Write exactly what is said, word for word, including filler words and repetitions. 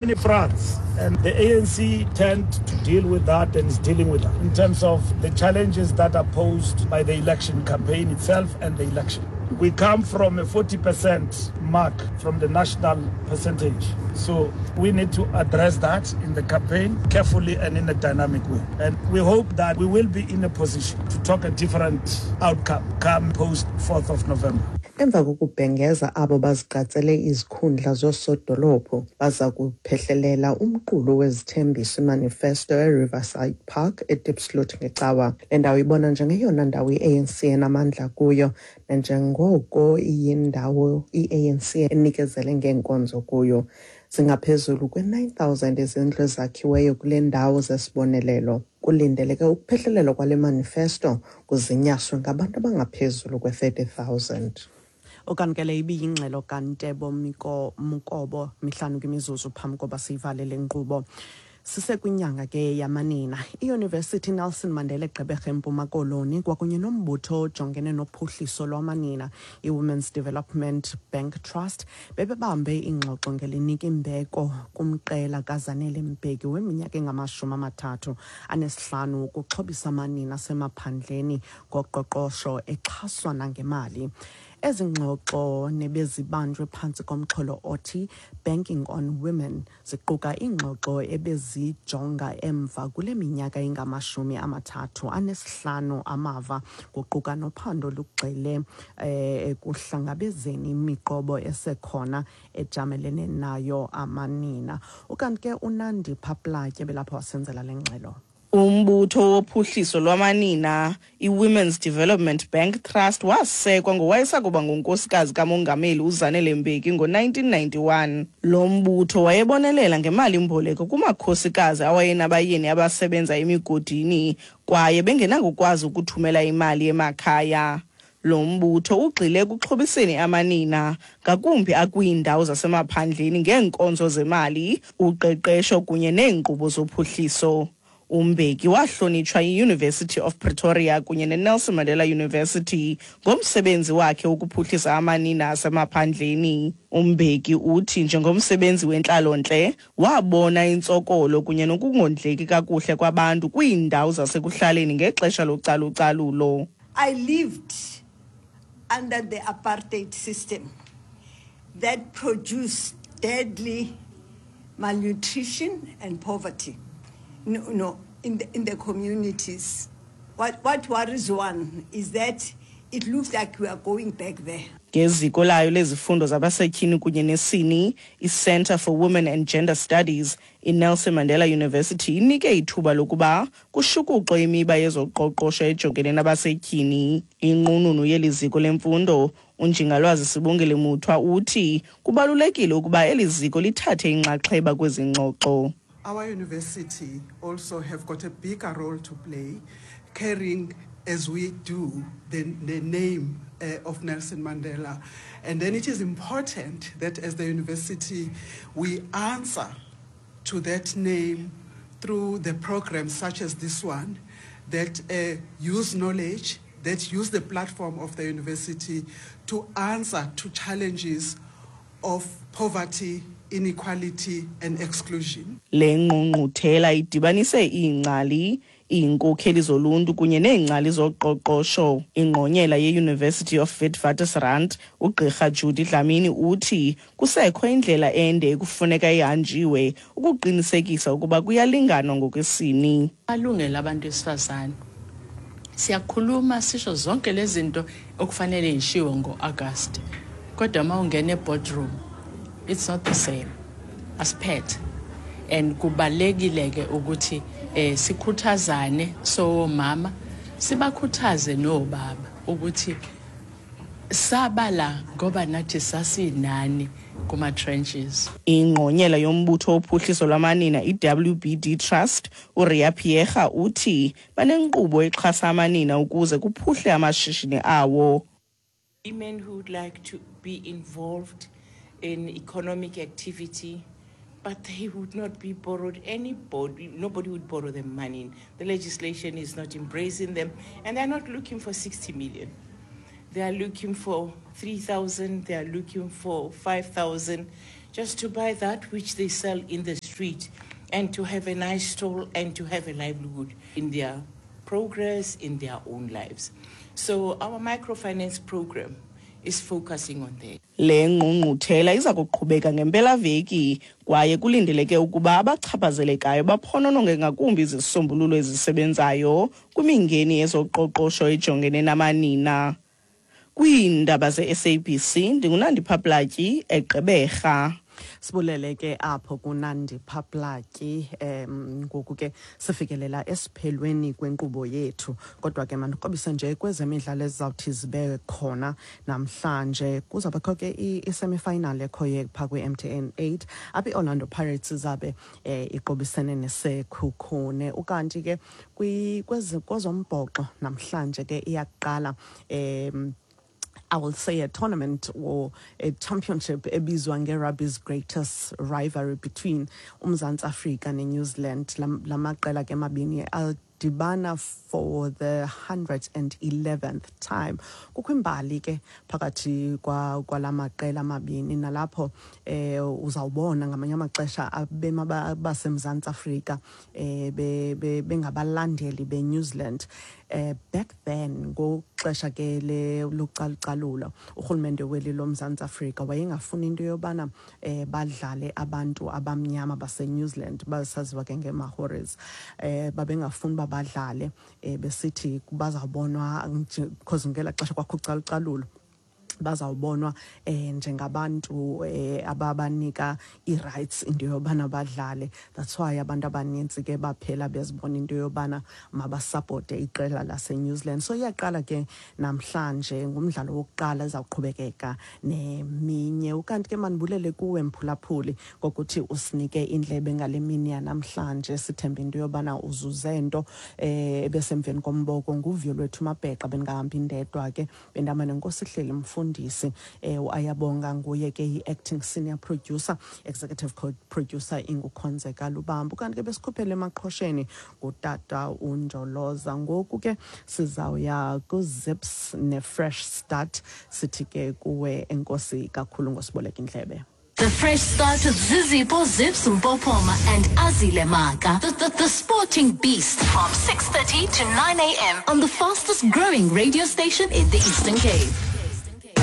Many fronts, and the A N C tend to deal with that and is dealing with that in terms of the challenges that are posed by the election campaign itself and the election. We come from a forty percent mark from the national percentage. So we need to address that in the campaign carefully and in a dynamic way. And we hope that we will be in a position to talk a different outcome come post fourth of November. Emva kokubhengeza abo bazigqatsele izikhundla zoosodolophu, baza kuphehlelela umqulu wezithembiso, imanifesto, eRiverside Park eDiepsloot ngeCawa. Le ndawo ibonwa njengeyona ndawo i-A N C enamandla kuyo nanjengoko iyindawo i-A N C enikezele ngeenkonzo kuyo. Zingaphezulu kwe-nine thousand izindlu ezakhiweyo kule ndawo zesibonelelo. Kulindeleke ukuphehlelelwa kwale manifesto kuzinyaswe ngabantu abangaphezulu kwe-thirty thousand. Ukanti ke le ibiyingxelo kaNtebo Miko Mukobo. Mihlanu kwimizuzu phambi koba siyivale le nkqubo. Sisekwinyanga ke yamanina. IYunivesithi Nelson Mandela eGqeberha eMpuma Koloni kwakunye nombutho ojongene nophuhliso lwamanina, iWomen's Development Bank Trust, bebebambe ingxoxo ngelinika imbeko kumqela kaZanele Mbeki weminyaka engamashumi amathathu anesihlanu ukuxhobisa amanina asemaphandleni ngoqoqosho exhaswa nangemali. Ezi ngxoxo nebezibanjwe phantsi komxholo othi "Banking on Women" ziquka iingxoxo ebezijonga emva kule minyaka ingamashumi amathathu anesihlanu amava, kuquka nophando lugxile eh, ekuhlangabezeni imiqobo esekhona ejamelene nayo amanina. Ukanti ke uNandipha Platye belapho wasenzela le ngxelo. Umbutho wophuhliso lwamanina, iWomen's Development Bank Trust, wasekwa ngowayesakuba ngunkosikazi kamongameli uZanele Mbeki ngo-nineteen ninety-one. Lo mbutho wayebonelela ngemali-mboleko kumakhosikazi awayenabayeni abasebenza emigodini kwaye bengenakukwazi ukuthumela imali emakhaya. Lo mbutho ugxile ekuxhobiseni amanina, ngakumbi akwiindawo zasemaphandleni, ngeenkonzo zemali, uqeqesho kunye neenkqubo zophuhliso. UMbeki wahlonitshwa yi-University of Pretoria kunye neNelson Mandela University ngomsebenzi wakhe wokuphuhlisa amanina asemaphandleni. UMbeki uthi njengomsebenzi wentlalontle wabona intsokolo kunye nokungondleki kakuhle kwabantu kwiindawo zasekuhlaleni ngexesha localucalulo. I lived under the apartheid system that produced deadly malnutrition and poverty. No, no, in the, in the communities. What, what worries one is that it looks like we are going back there. Ngeziko layo lezifundo zabasetyhini kunye nesini, iCenter for Women and Gender Studies, iNelson Mandela University inike ithuba lokuba kushukuxwe imiba yezoqoqosho ejongene nabasetyhini. Inqununu yeli ziko lemfundo, uNjingalwazi Sibongile Muthwa, uthi kubalulekile ukuba eli ziko lithathe inxaxheba kwezi ngxoxo. Our university also have got a bigger role to play, carrying as we do the, the name uh, of Nelson Mandela. And then it is important that as the university we answer to that name through the programs such as this one that uh, use knowledge, that use the platform of the university to answer to challenges of poverty, inequality and exclusion. Le ngqungquthela idibanise iingcali, iinkokheli zoluntu kunye neengcali zoqoqosho. Ingqonyela ye-University of Witwatersrand, uGqirha Judy Dlamini, uthi kusekho indlela ende ekufuneka ihanjiwe ukuqinisekisa ukuba kuyalinganwa ngokwesini. Amalungelo abantu besifazane, siyakhuluma, sisho zonke lezi zinto okufanele yishiwo ngo-August, kodwa uma ungena e-boardroom it's not the same. Asiphethe and kubalekile ke ukuthi eh sikhuthazane sowomama, sibakhuthaze nobaba ukuthi sabala ngoba nathi sasinani kuma trenches. Ingqonyela yombutho wophuhliso lwamanina, i-W B D Trust, uRia Pierre, uthi banenkqubo exhasa amanina ukuze kuphuhle amashishini awo. Women who would like to be involved in economic activity, but they would not be borrowed anybody, nobody would borrow them money. The legislation is not embracing them, and they're not looking for sixty million. They are looking for three thousand, they are looking for five thousand. just to buy that which they sell in the street and to have a nice stall and to have a livelihood in their progress, in their own lives. So our microfinance program is focusing on that. Le ngqungquthela iza kuqhubeka ngempelaveki kwaye kulindeleke ukuba abachaphazelekayo baphonononge ngakumbi izisombululo ezisebenzayo kwimingeni yezoqoqosho ejongene namanina. Kwiindaba ze-S A B C ndinguNandipha Platyi eGqeberha. Sibulele ke apho kuNandipha Platyi. Em ngoku ke sifikelela esiphelweni kwenkqubo yethu, kodwa ke mandikrobise nje kwezemidlalo ezizawuthi zibe khona namhlanje. Kuzawubakho ke i-semifinal ekhoyo phaa kwi-M T N eight apho i-Orlando Pirates izabe eh, iqobisene neSekhukhune. Ukanti ke kwezombhoxo namhlanje ke iyaqala em I will say a tournament or a championship ebizwa nge-rugby's greatest rivalry between uMzantsi Afrika neNew Zealand. Lamaqela ke mabini adibana for the hundred and eleventh time. Kukho imbali ke phakathi kwalamaqela amabini, nalapho eh uzawubona ngamanye amaxesha abema baseMzantsi Afrika eh bengabalandeli beNew Zealand. Eh back then ngoxesha ke le localucalulo, urhulumente weli loMzantsi Afrika wayengafuni into yobana eh badlale abantu abamnyama baseNew Zealand, basaziwa ke ngeMaoris. Eh babengafuni badlale eh besithi bazawubonwa because ngela xesha kwakho ucalucalulo, bazawubonwa eh njengabantu eh ababanika i-rights into yobana badlale. That's why abantu abanintsi ke baphela bezibona into yobana mabasupporte iqela lase-New Zealand. So iyaqala ke namhlanje ngumdlalo wokuqala ezawuqhubekeka neminye. Ukanti ke mandibulele kuwe mphulaphuli ngokuthi usinike indlebe ngale mini yanamhlanje. Sithembe into yobana uzuze nto eh ebesemveni komboko. Nguvuyo lwethu Mabheqa, bendingahambi ndedwa ke, bendihamba nenkosi Hleli Mfundisi. Eh ayabonga nguye ke i-acting senior producer, executive producer inguKhonzeka Lubambo. Kanti ke besikhuphele emaqhosheni ngutata uNjoloza. Ngoku ke sizawuya kuZips ne-Fresh Start. Sithi ke kuwe enkosi kakhulu ngosiboleka indlebe. The Fresh Start with Zizipho Zips Mpopoma and Azile Maka. The, the, the Sporting Beast from six thirty to nine a m on the fastest growing radio station in the Eastern Cape.